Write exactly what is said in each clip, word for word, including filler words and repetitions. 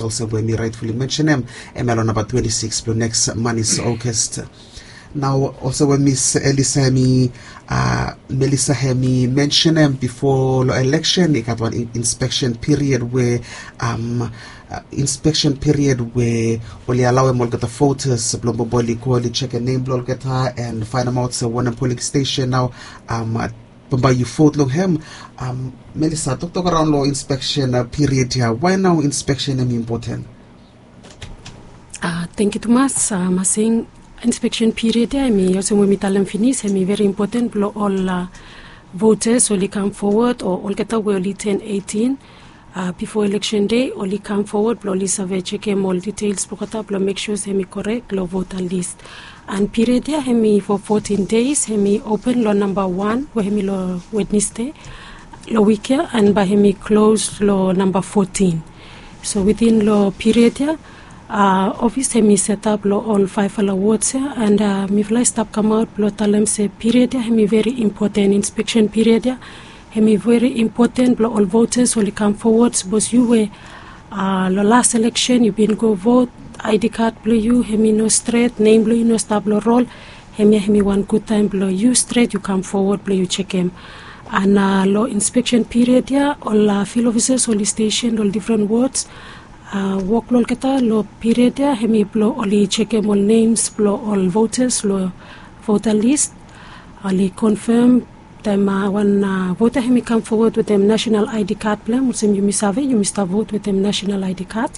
olsem we mi rightfully mentionem, em ya long namba twenty-six blong next month is August. Nao olsem we Miss Elisa hemi, uh, Melissa hemi mentionem before lo election i gat wan in- inspection period we, um, uh, inspection period we oli alauem olgeta voters blong bambae oli go oli chekem nem blong olgeta and faenemaot se wanem polling station nao, um, bambae yu vote long hem. Um, Melissa, toktok araon long inspection, uh, period ya, why nao inspection hemi important? Uh, thank you tumas, uh, Masing. Inspection period ya hemi olsem we mi talem finis, hemi very important blong ol, uh, voters oli kam forward o olgeta we oli turn eighteen, uh, before election day oli kam forward blong oli save chekem ol details blong olgeta blong make sure se hemi correct long voter list. And period ya hemi for fourteen days, hemi open long namba one we hemi long Wednesday long week ya, and bae hemi close long namba fourteen. So within long period ya, uh, office hemi set up long ol faefala wards ya, and, uh, mifala i stap kamaot blong talem se period ya hemi very important, inspection period ya hemi very important blong ol voters oli kam forward. Sapos yu we, uh, long last election yu bin go vote, I D card blong yu hemi no stret, nem blong yu no stap long roll, hemia hemi wan gud taem blong yu stret yu kam forward blong yu chekem. And, uh, long inspection period ya ol, uh, field officers oli station long ol different wards, uh, wok blong olgeta long period ya hemi blong oli chekem ol names blong ol voters long voter list. Oli confirm taem, uh, wan, uh, voter hemi kam forward wetem national I D card blong hem, olsem yumi save yumi stap vote wetem national I D card.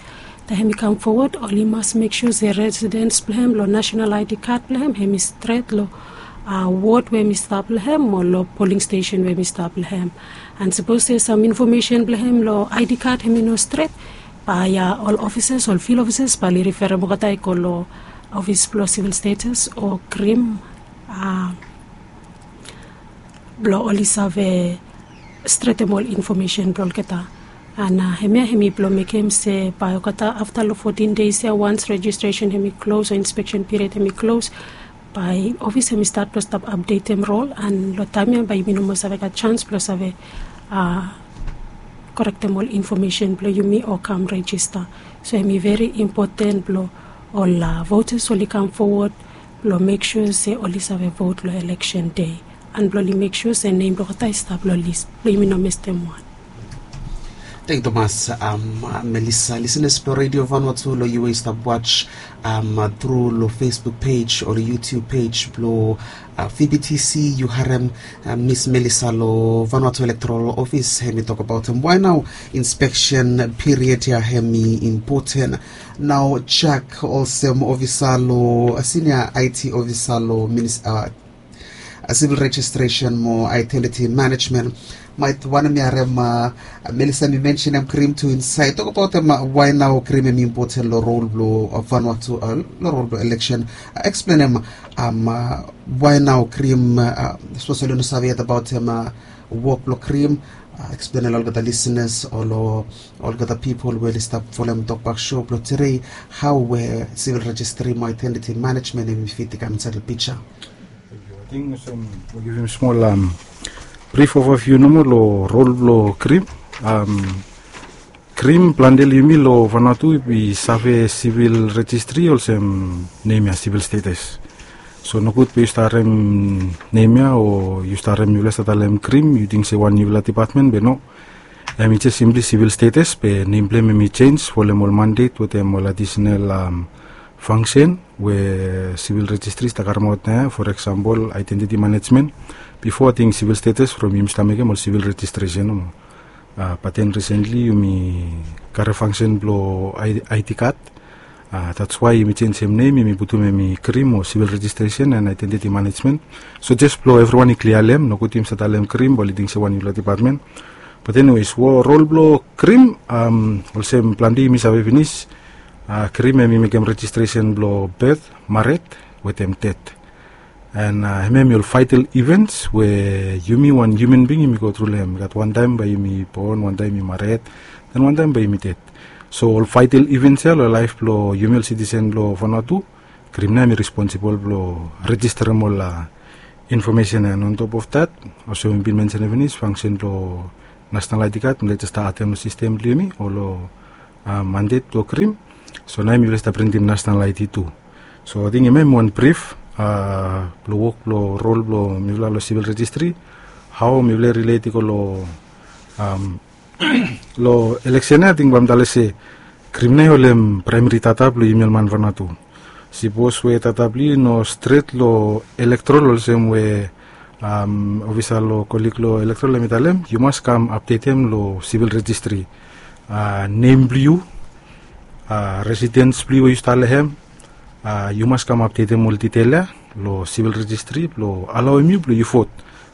Taem hemi kam forward oli mas make sure se residence blong hem long national I D card blong hem hemi stret long, uh, ward we hemi stap long hem o long polling station we hemi stap long hem. And sapos se sam information blong hem long I D card hemi no stret, bae, uh, ol officers, ol field officers bae oli referem olgeta i go long office blong civil status o CRIM, uh, blong oli save stretem ol information blong olgeta. And, uh, hemia hemi blong mekem se bae olgeta afta long fourteen days ya, once registration hemi close o inspection period hemi close, bae office hemi stat blong stap updatem roll, and long taem ya bae yumi no moa save gat chance blong save, uh, correctem ol information blong yumi o kam register. So hemi very important blong ol, uh, voters oli kam forward blong make sure se oli save vote long election day, and blong oli make sure se nem blong olgeta i stap long list blong yumi no mestem wan. Thank you tumas, um, Melissa. Listeners blong Radio Vanuatu long yu we i stap watch, um, through long Facebook page o long YouTube page blong, uh, V B T C, yu harem, uh, Miss Melissa long Vanuatu Electoral Office hemi tokbaotem why nao inspection period ya hemi important. Nao Jack olsem officer long, uh, senior I T officer long minis- uh, uh, civil registration mo identity management. Maet wanem mi harem, uh, Melissa mi mentionem CRIM tu insaed. Tokbaotem, uh, why nao CRIM hemi important long roll blong, uh, Vanuatu, uh, long roll blong election. Uh, explainem, um, uh, why nao CRIM, uh, sapos oli no save yet abaotem, uh, wok blong CRIM, uh, explainem long olgeta listeners o long olgeta pipol we oli stap folem tokbak show blong tedei, hao we civil registry mo identity management hemi fit i kam insaed long pija. Thank you. Ating olsem mi givim smol, um, brief overview nomo long roll blong CRIM. Um, CRIM, plante long yumi long Vanuatu i save civil registry olsem nem ya civil status. So nogud be yu stap harem nem ya o yu stap harem mifala i stap talem CRIM yu ting se wan niufala department, be no. Hemi jes simply civil status be nem blong hem hemi jenis folem ol mandate wetem ol additional, um, function we civil registry i stap karemaot nao ya, for example identity management. Bifo ating civil status from yumi stap mekem ol civil registration nomo. Uh, but then recently yumi karem function blong I- ID card. Uh, that's why yumi jenisim nem, yumi putum hemi CRIM o civil registration and identity management. So jes blong evriwan i klia long hem, nogud yumi stap talem CRIM bae oli ting se wan niufala department. But anyways, roll blong CRIM, um, olsem plante yumi save finis, uh, CRIM hemi mekem registration blong birth, mared wetem ded. And, uh, hemia hemi ol vital events we yumi wan human being yumi go tru long hem. I gat wantaem bae yumi bon, wantaem yumi mared, then wantaem bae yumi ded. So ol vital events ya long laef blong yumi ol citizen blong Vanuatu, CRIM nao hemi responsible blong registerem ol, uh, information ya. And on top of that, olsem mi bin mentionem finis, function blong national ID card, mi laik jes stap adem long system blong yumi o long mandet blong krim. So nao mifala i stap printim national I D tu. So ating hemia hem wan brif blong wok blong rol blong mifala long sivil rejistri, hao mifala i rilet i go long long eleksen ya. Ating bae mi talem se krim nao i holem praemari data blong yumi ol man Vanuatu. Sipos we data blong yu no stret long elektorol olsem we ofisa long kolik long elektorol hem i talem, yu mas kam apdetem long sivil rejistri. Nem blong yu, residens blong yu we yu stap long hem, yu mas kam apdetem ol ditel ya long sivil rejistri blong alaoem yu blong yu vot.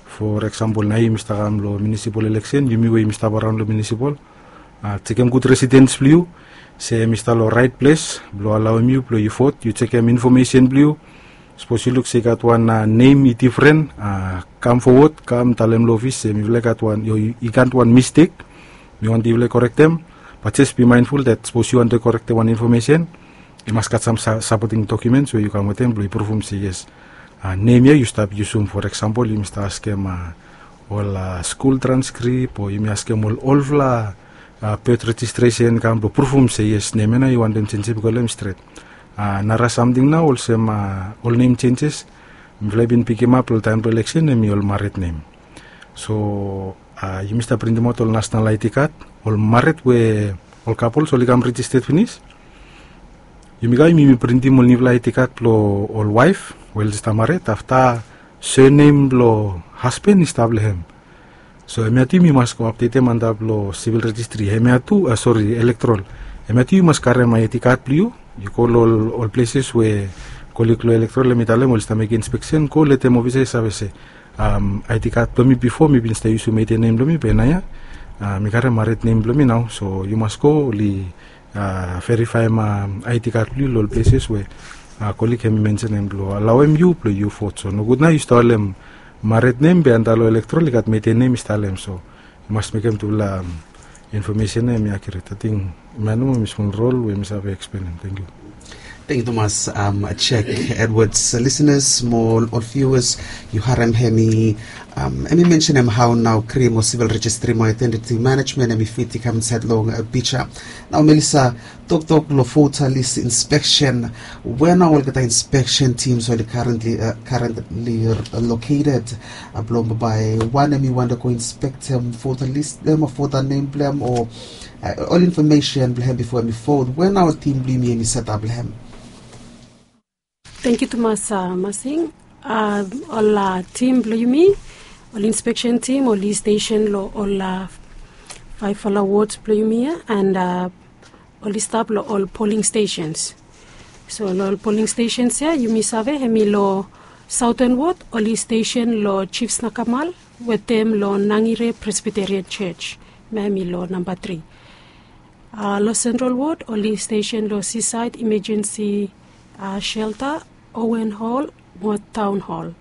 For eksampol, nao yumi stap kam long munisipol eleksen, yumi we yumi stap araon long munisipol, jekem gud residens blong yu se hem i stap long raet ples blong alaoem yu blong yu vot. Yu jekem infomesen blong yu. Sapos yu luk se i gat wan nem i difren, kam fowod, kam talem long ofis se mifala i gat wan, i gat wan mistek, mi wantem yufala i korektem. Bat jes bi maenful dat sapos yu wantem korektem wan infomesen, i mas gat sam sapoting dokiumens we yu kam wetem blong i pruvum se yes, nem ya yu stap yusum. For eksampol, yumi stap askem ol skul transkrip o yumi askem ol olfala bet rejistresen kam blong pruvum se yes, nem ya nao yu wantem jenjem i go long hem stret. Nara samting nao olsem ol nem jenjes mifala i bin pikimap long taem blong eleksen hem i ol mared nem. So yumi stap printimaot ol national I D kad. Ol mared we ol kapols oli kam rejisted finis, yumi kam yumi printim ol niufala I D kad blong ol waef we oli stap mared, afta sernem blong hasben i stap long hem. So hemia tu yumi mas go apdetem antap long sivil rejistri. Hemia tu, sori, elektorol. Hemia tu yu mas karem I D kad blong yu. Yu go long ol pleses we kolik long elektorol hem i talem oli stap mekem inspeksen, go letem ofisa i save se I D kad blong mi bifo mi bin stap yusum ede nem blong mi, be naoia mi karem mared nem blong mi nao. So yu mas go oli verifaem I D kad blong yu long ol pleses we kolik hem i mensenem blong alaoem yu blong yu vot. So nogud nao yu stap holem mared nem be antap long elektorol i gat ede nem i stap long hem. So yu mas mekem tufala infomesen ya hem i akiuret. Ating hemia nomo mi smol rol we mi save eksplenem. Tangkiu. Tangkiu tumas, Jack Edwards. Lisenas mo ol viuas, yu harem hem i hem i mensenem hao nao krim o sivil rejistri mo aedentiti manejmen hem i fit i kam insaed long pija. Nao Melisa, toktok long vota lis inspeksen, we nao olgeta inspeksen tims oli karentli loketed blong bae wan hem i wantem go inspektem vota lis blong hem o vota nem blong hem o ol infomesen blong hem bifo hem i vot, we nao tim blong yumi hem i setap long hem? Tangkiu tumas, Masing. Ol tim blong yumi, ol inspeksen tim oli stesen long ol faefala wods blong yumi ya, and oli stap long ol poling stesens. So long ol poling stesens ya yumi save hem i long Saoten Wod oli stesen long Jif Snakamal wetem long Nangire Presbiterian Jos. Hemia hem i long namba tri. Long Sentral Wod oli stesen long Sisaed Imejensi Shelta, Owen Hol mo Taon Hol.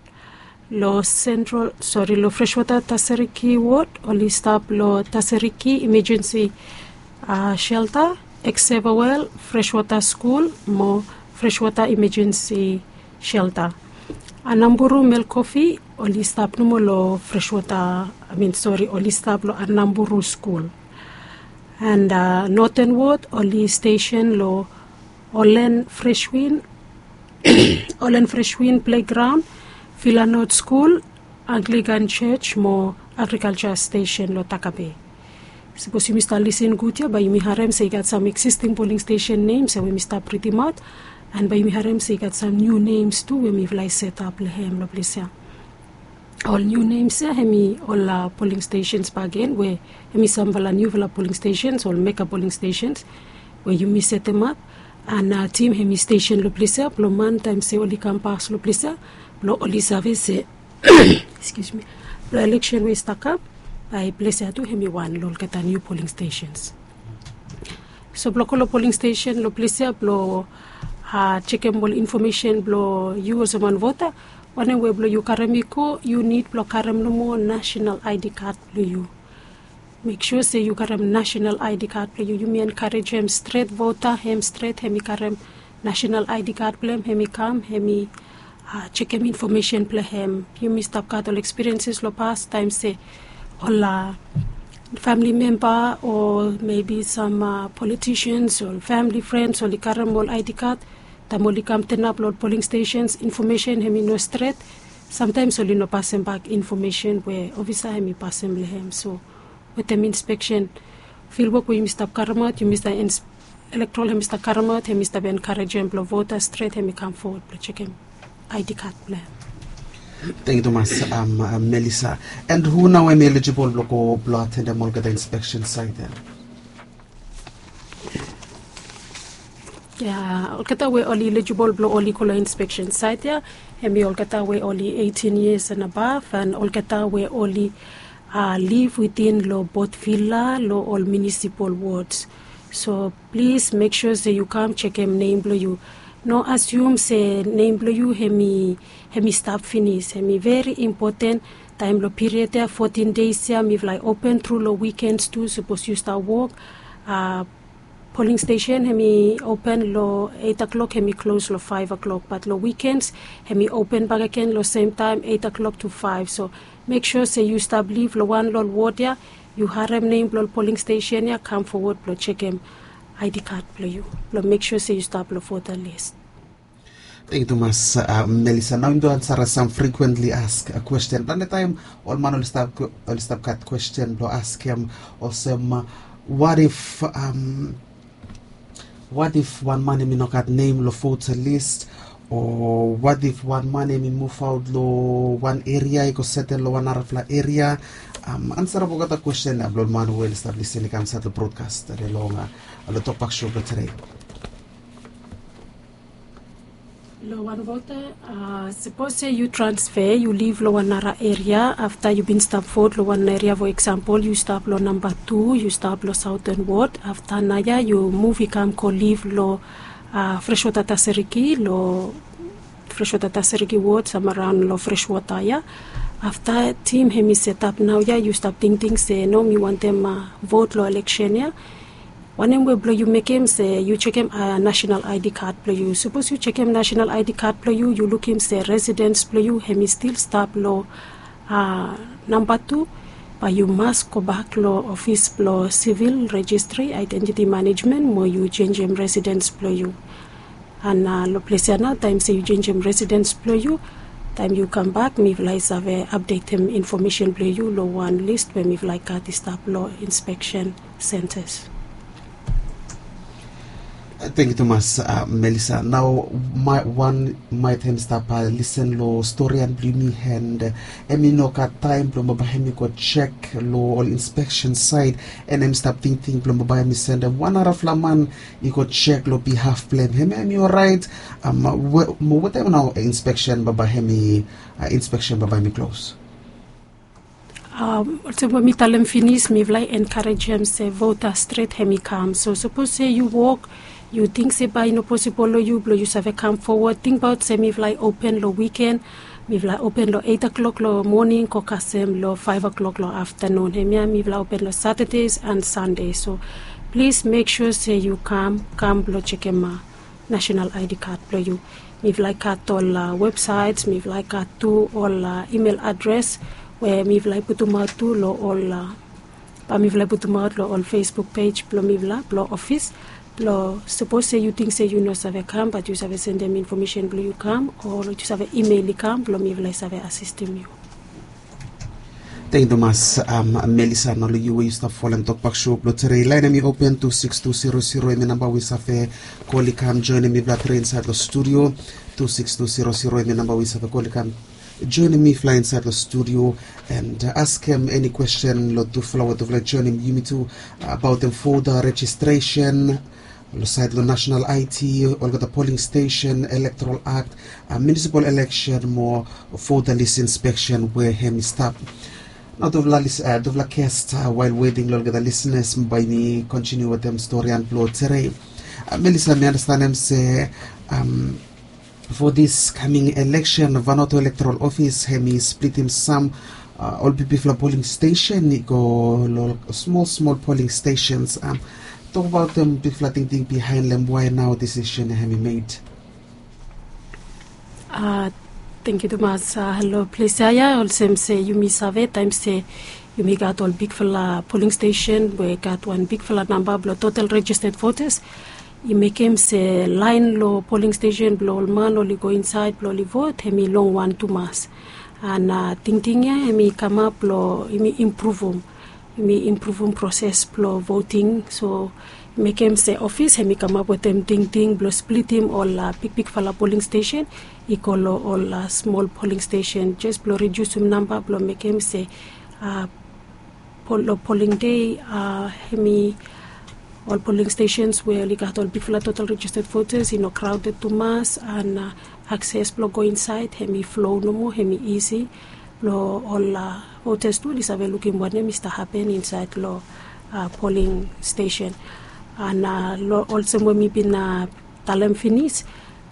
Long Sentral, sori, long Freswota Taseriki Wod oli stap long Taseriki Imejensi Shelta, Eksevawel, Freswota Skul mo Freswota Imejensi Shelta. Anamburu Melkofi oli stap nomo long Freswota, I mean, sori, oli stap long Anamburu Skul. And Noten Wod oli stesen long Olen Freswin, Olen Freswin Plegraon, Vilanot Skul, Anglikan Jos mo Agrikalja Stesen long Takabe. Sapos yumi stap lisin gud ya bae yumi harem se i gat sam eksisting poling stesen nems ya we mi stap ridimaot, and bae yumi harem se i gat sam niu nems tu we mifala i setap long hem long ples ya. Ol niu nems ya hem i ol poling stesens bakegen we hem i samfala niufala poling stesens, ol mega poling stesens we yumi setemap. And tim hem i stesen long ples ya blong man taem se oli kam pas long ples ya blong oli save se, excuse me, long eleksen we i stap kam, bae ples ya tu hem i wan long olgeta niu poling stesens. So blong go long poling stesen long ples ya blong jekem ol infomesen blong yu olsem wan vota, wanem we blong yu karem i go, yu nid blong karem nomo nasenal I D kad blong yu. Mek sua se yu karem nasenal I D kad blong yu. Yumi enkarejem stret vota hem stret hem i karem nasenal I D kad blong hem, hem i kam, hem i jekem infomesen blong hem. Yumi stap gat ol ekspirienses long pas taem se ol famili memba o mebi sam politisians o famili frens oli karem ol aidi kad, taem oli kam tenap long ol poling stesens, infomesen hem i no stret. Samtaems oli no pasem bak infomesen we ofisa hem i pasem long hem. So wetem inspeksen, filwok we yumi stap karemaot, yumi stap elektrol hem i stap karemaot, hem i stap enkarejem blong vota stret hem i kam fowod blong jekem aidi kad blong hem. Tengyu tumas, Melisa. And hu nao hem i elijibol blong go blong atendem olgeta inspeksen sait ya? Ya, olgeta we oli elijibol blong oli go long inspeksen sait ya, hem i olgeta we oli eitin yias and abav, and olgeta we oli liv witin long bot vila long ol munisipal wods. So plis mek sua se yu kam jekem nem blong yu. No asium se nem blong yu hem i hem i stap finis. Hem i veri impoten. Taem long piriod ya fotin deis ya mifala i open tru long wikens tu, sapos yu stap wok. Poling stesen hem i open long eit o'klok, hem i klos long faef o'klok, bat long wikens hem i open bakegen long semtaem eit o'klok tu faef. So mek sua se yu stap liv long wan long ol wod ya, yu harem nem blong ol poling stesen ya, kam fowod blong jekem aidi kad blong yu blong mek sua se yu stap long vota lis. Tengyu tumas, Melisa. Nao yumi tu ansara sam frikuentli ask kwesten. Plante taem ol man oli stap gat kwesten blong askem olsem, wat if, wat if wan man hem i no gat nem long vota lis, o wat if wan man hem i muvaot long wan eria i go setel long wan narafala eria? Ansarap olgeta kwesten ya blong ol man we oli stap lisin i kam insaed long brodkas tede long long Tokpak Show blong tede. Long wan vota, sapos se yu transfe, yu liv long wan nara eria, afta yu bin stap vot long wan eria, fo eksampol yu stap long namba tu, yu stap long Saoten Wod, afta naoia yu muv i kam go liv long Freswota Taseriki, long Freswota Taseriki Wod, sam araon long Freswota ya. Afta tim hem i setap naoia, yu stap tingting se no, mi wantem vot long eleksen ya. Wanem we blong yu mekem se yu jekem nasenal aedi kad blong yu. Sapos yu jekem nasenal aedi kad blong yu, yu lukim se residens blong yu hem i stil stap long namba tu, bae yu mas gobak long ofis blong sivil rejistri, aedentiti manejmen mo yu jenjem residens blong yu. An long ples ya nao, taem se yu jenjem residens blong yu, taem yu kambak mifala i save apdetem infomesen blong yu long wan lis we mifala i gat i stap long inspeksen sentas. Tengyu tumas, Melisa. Nao wan maet hem i stap lisen long storian blong yumi, an hem i no gat taem blong bambae hem i go jek long ol inspeksen saed, an hem i stap tingting blong bambae hem i sendem wan narafala man i go jek long bihaf blong hem. Hemia hem i oraet? Mo wetaem nao inspeksen bambae hem i, inspeksen bambae hem i klos? Olsem we mi talem finis, mifala i enkarejem se vota stret hem i kam. So sapos se yu wok, yu ting se bae i no posibol long yu blong yu save kam fowod, tingbaot se mifala i open long wiken. Mifala i open long eit o'klok long moning go kasem long faef o'klok long aftanun. Hemia mifala i open long Saturdays and Sundays. So plis mek sua se yu kam, kam blong jekem nasenal aedi kad blong yu. Mifala i gat ol websaets, mifala i gat tu ol email adres we mifala i putumaot tu long ol, bae mifala i putumaot long ol Facebook pej blong mifala blong ofis. Blong sapos se yu ting se yu no save kam, bat yu save sendem infomesen blong yu kam, o yu save email i kam blong mifala i save asistem yu. Tengyu tumas, Melisa. Nao long yu we yu stap folem Tokpak Show blong tede, laen hem i open, tu siks tu zero zero hem i namba we yu save kol i kam joenem mifala tede insaed long studio. Tu siks tu zero zero hem i namba we yu save kol i kam joenem mifala insaed long studio, an askem eni kwesten long tufala we tufala i joenem yumi tu abaotem vota rejistresen, long saed long nasenal aedi, olgeta poling stesen, elektorol akt, munisipal eleksen mo vota lis inspeksen we hem i stap. Nao tufala lis, tufala gest, wael weting long olgeta lisnas, bae mi kontiniu wetem storian blong tede. Melisa, mi andastanem se fo dis kaming eleksen, Vanuatu Elektorol Ofis hem i splitim sam ol bigfala poling stesen i go long smol smol poling stesens. Tokbaotem bigfala tingting biaen long hem, wae nao disisen ya hem i med? Thank you tumas. Long ples ya ya, olsem se yumi save taem se yumi gat ol bigfala polling station we gat wan bigfala namba blong total registered voters, i mekem se laen long polling station blong ol man oli go insaed blong oli vot, hem i longwan tumas. An tingting ya hem i kamap blong yumi impruvum, yumi impruvum proses blong voting. So mekem se ofis hem i kamap wetem tingting blong splitim ol bigbigfala polling station i go long ol smol polling station, jes blong ridiusim namba blong mekem se long polling dei, hem i ol polling stations we oli gat ol bigfala total registered voters i no crowded tumas, an akses blong go insaed hem i flow nomo, hem i isi blong ol voters tu oli save lukim wanem i stap hapen insaed long polling station. An olsem we mi bin talem finis,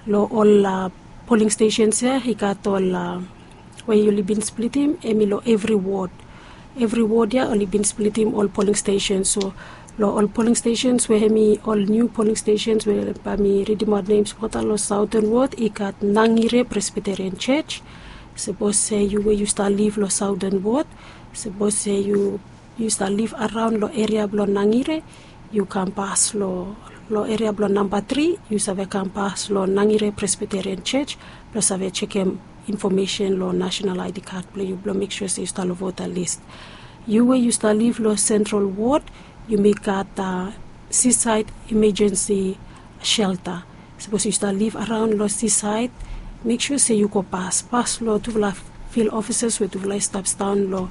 long ol polling stations ya i gat ol we oli bin splitim, hem i long evri wod. Evri wod ya oli bin splitim ol polling stations. So long ol polling stations we hem i ol niu polling stations we bae mi ridimaot nems bata long Saoten Wod, i gat Nangire Presbyterian Church. Sapos se yu we yu stap liv long Saoten Wod, sapos se yu yu stap liv araon long eria blong Nangire, yu kam pas long long eria blong namba tri, yu save kam pas long Nangire Presbyterian Church blong save jekem infomesen long national I D card blong yu blong mek sua se yu stap long vota list. Yu we yu stap liv long Central Ward, yumi gat Seaside Emergency Shelter. Sapos yu stap liv araon long Seaside, mek sua se yu go pas pas long tufala field officers we tufala i stap sindaon long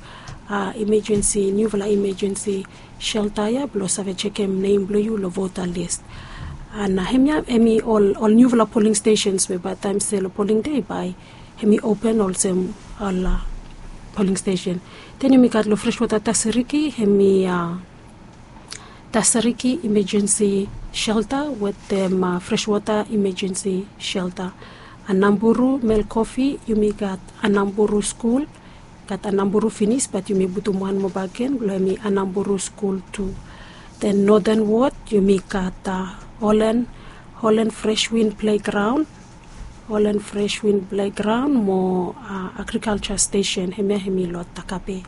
emergency, niufala emergency shelter ya blong save jekem nem blong yu long vota list. An hemia hem i ol ol niufala polling stations we bae taem se long polling dei bae hem i open olsem ol polling station. Den yumi gat long Freshwater Tasiriki, hem i Tasiriki Emergency Shelter wetem Freshwater Emergency Shelter. Anamburu, Melkofi, yumi gat Anamburu Skul, gat Anamburu finis, bat yumi putum wan moa bakegen blong hem i Anamburu Skul tu. Den Northern Ward yumi gat Holland, Holland Fresh Wind Playground, Holland Fresh Wind Playground mo Agriculture Station, hemia hem i long Takape.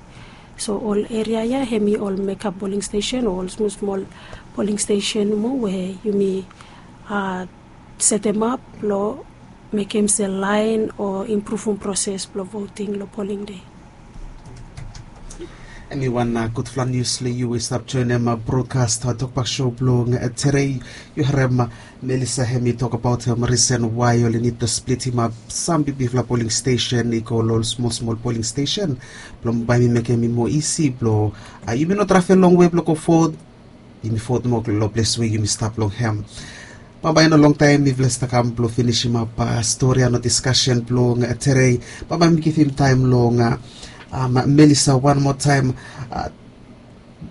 So ol eria ya hem i ol mekap polling station o ol smol smol polling station mo we yumi setemap blong mekem se laen o impruvum proses blong voting long polling dei. Hem i wan gudfala nius long yu we i stap joenem brokast Tokpak Show blong tedei. Yu harem Melissa hem i tokbaot risen wae oli nid blong splitimap sam bigbigfala polling station i go long ol smol smol polling station blong bae mi mekem i moa isi blong yumi no travel longwe blong go vot. Yumi vot moa long ples we yumi stap long hem. Bambae no longtaem mifala i stap kam blong finisimap stori ya no diskasen blong tedei. Bambae mi givim taem long Melissa wan moa taem.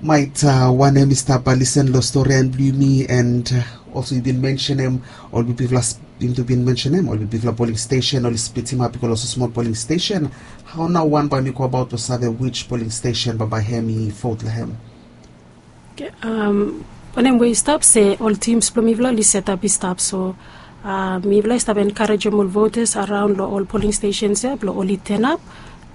Maet wanem i stap lisen long stori ya blong yumi, and olsem yu bin mensenem ol bigfala, yumi tu bin mensenem ol bigfala polling station oli splitimap i go long smol polling station. Hao nao wan bae mi go abaot blong save wij polling station bambae hem i vot long hem? Wanem we i stap se ol tims blong mifala oli setap i stap, so mifala i stap enkarejem ol votas araon long ol polling stesens ya blong oli tenap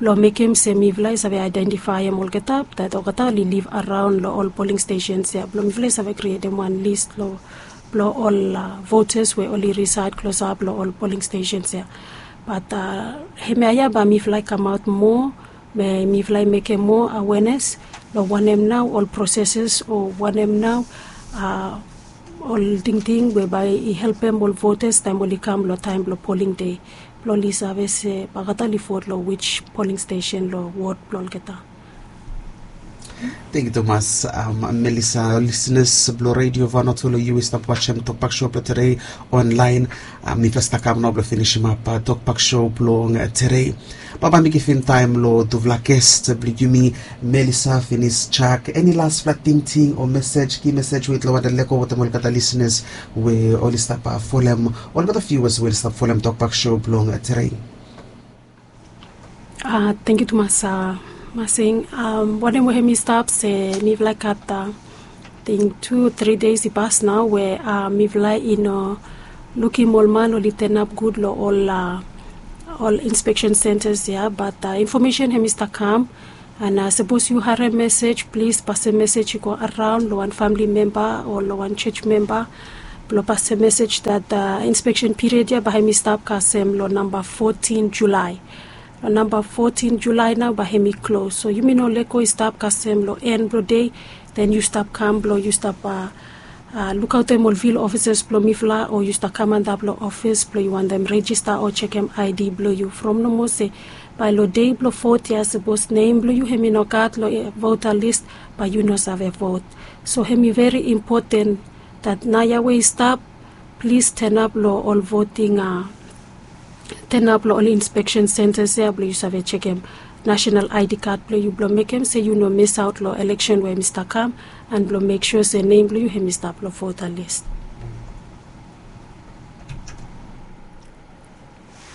blong mekem se mifala i save aedentifaem olgeta dat olgeta oli liv araon long ol polling stesens ya blong mifala i save krietem wan lis blong ol votas we oli risaed klosap long ol polling stesens ya. Bat hemia ya bae mifala i kamaot moa, be mifala i mekem moa awenes long wanem nao ol proseses o wanem nao ol tingting we bae i helpem ol votas taem oli kam long taem blong polling dei blong oli save se bae olgeta oli vot long wij polling stesen long wod blong olgeta. Tangkiu tumas Melissa. Ol lisenas blong redio Vanuatu, long yu we i stap wajem Tokpak Show blong tedei onlaen, mifala i stap kam nao blong finisimap Tokpak Show blong tedei. Bambae mi givim taem long tufala ges blong yumi, Melissa finis Jack. Eni lasfala tingting o mesej, ki mesej we yutufala wantem lego wetem olgeta lisenas we oli stap folem, olgeta viuas we oli stap folem Tokpak Show blong tedei? Tangkiu tumas Masing. Wanem we hem i stap se mifala i gat ating tu tri deis i pas nao we mifala i no lukim ol man oli tenap gud long ol ol inspeksen sentas ya, bat infomesen hem i stap kam. An sapos yu harem mesej, plis pasem mesej i go araon long wan famili memba o long wan jos memba blong pasem mesej dat inspeksen piriod ya bae hem i stap kasem long namba fotin Julae. Long namba fotin Julae nao bae hem i klos. So yumi no lego i stap kasem long en blong dei, den yu stap kam blong yu stap lukaotem ol vil ofisas blong mifala, o yu stap kam antap long ofis blong yu wantem rejista o jekem aedi blong yu. From nomo se bae long dei blong vot ya, sapos nem blong yu hem i no gat long vota lis, bae yu no save vot. So hem i veri impoten dat naoia we i stap, plis tenap long ol voting, tenap long ol inspeksen sentas ya blong yu save jekem nasenal aedi kad blong yu blong mekem se yu no misaot long eleksen we hem i stap kam, an blong mek sua se nem blong yu hem i stap long vota lis.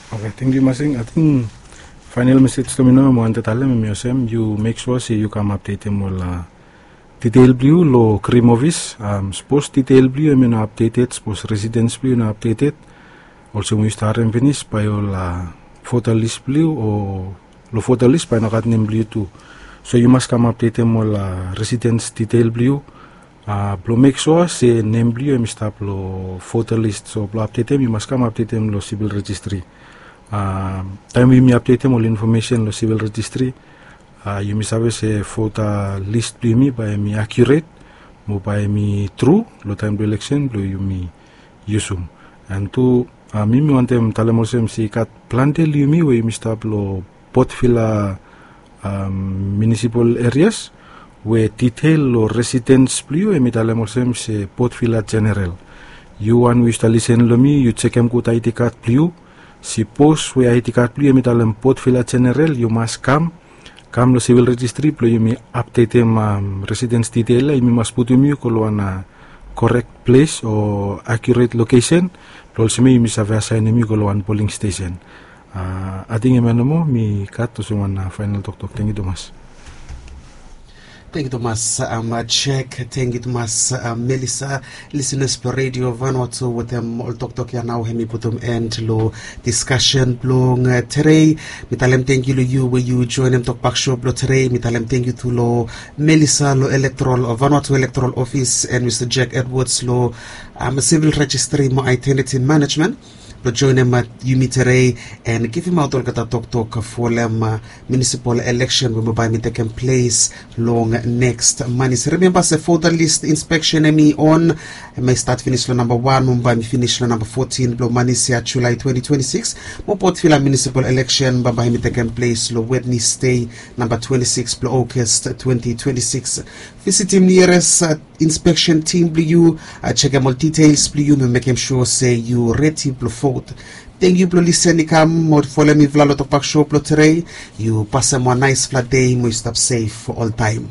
Oke, tangkiu Masing. Ating faenal mesej blong mi nao mi wantem talem hem i olsem, yu mek sua se yu kam apdetem ol ditel blong yu long krim ofis. Sapos ditel blong yu hem i no apdeted, sapos residens blong yu i no apdeted, olsem we yu stap harem finis, bae ol vota lis blong yu o long vota lis bae i no gat nem blong yu tu. So yu mas kam apdetem ol residens ditel blong yu blong mek sua se nem blong yu hem i stap long vota lis. So blong apdetem yu mas kam apdetem long sivil rejistri. Taem we yumi apdetem ol infomesen long sivil rejistri, yumi save se vota lis blong yumi bae hem i akiuret mo bae hem i tru long taem blong eleksen blong yumi yusum. An tu mi mi wantem talem olsem se i gat plante long yumi we yumi stap long Port Vila munisipal erias we ditel long residens blong yu hem i talem olsem se Port Vila Jeneral. Yu wan we yu stap lisen long mi, yu jekem gud aedi kad blong yu. Sapos we aedi kad blong yu hem i talem Port Vila Jeneral, yu mas kam kam long sivil rejistri blong yumi apdetem residens ditel ya, yumi mas putum yu go long wan korek ples o akiuret lokesen blong olsem we yumi save asaenem yu go long wan poling stesen. Ating hemia nomo mi gat olsem wan faenal toktok. Tangkiu tumas. Tangkiu tumas Jek, tangkiu tumas Melisa. Lisenas blong Redio Vanuatu, wetem ol toktok ya nao hem i putum en long diskasen blong tede. Mi talem tangkiu long yu we yu joenem tokbak so blong tede. Mi talem tangkiu tu long Melisa long elektoral, Vanuatu elektoral ofis, and Mista Jack Edwards long sivil rejistri mo aedentiti manejmen blong joenem yumi tede and givimaot olgeta toktok folem munisipal eleksen we bae i tekem ples long neks manis. Rimemba se vota lis inspeksen hem i on, hem i stat finis long namba wan mo bae i finis long namba fotin blong manis ya, Julae twenti twenti sikis. Mo Port Vila munisipal eleksen bae i tekem ples long Wednesde, namba twenti sikis blong August twenti twenti sikis. Visitim niares inspeksen tim blong yu, jekem ol ditels blong yu mo mekem sua se yu redi blong vot. Tangkiu blong lisen i kam mo folem mifala long tokbak so blong tede. Yu pasem wan naesfala dei mo yu stap sef oltaem.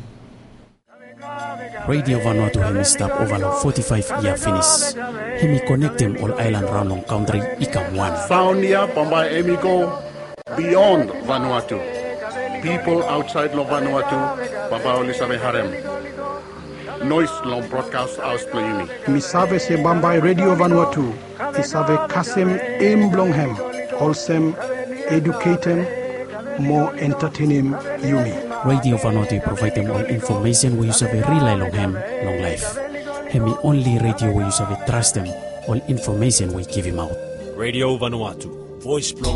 Redio Vanuatu hem i stap ova long foti faef yia finis. Hem i konektem ol aelan raon long kantri i kam wan. Saon ya bambae hem i go bion Vanuatu. Pipol aotsaed long Vanuatu bambae oli save harem noes long brodkas haos blong yumi. Mi save se bambae Redio Vanuatu i save kasem em blong hem olsem eduketem mo entatenem yumi. Redio Vanuatu i provaedem ol infomesen we yu save rilae long hem long laef. Hem i onli redio we yu save trastem ol infomesen we i givimaot. Redio Vanuatu, voes blong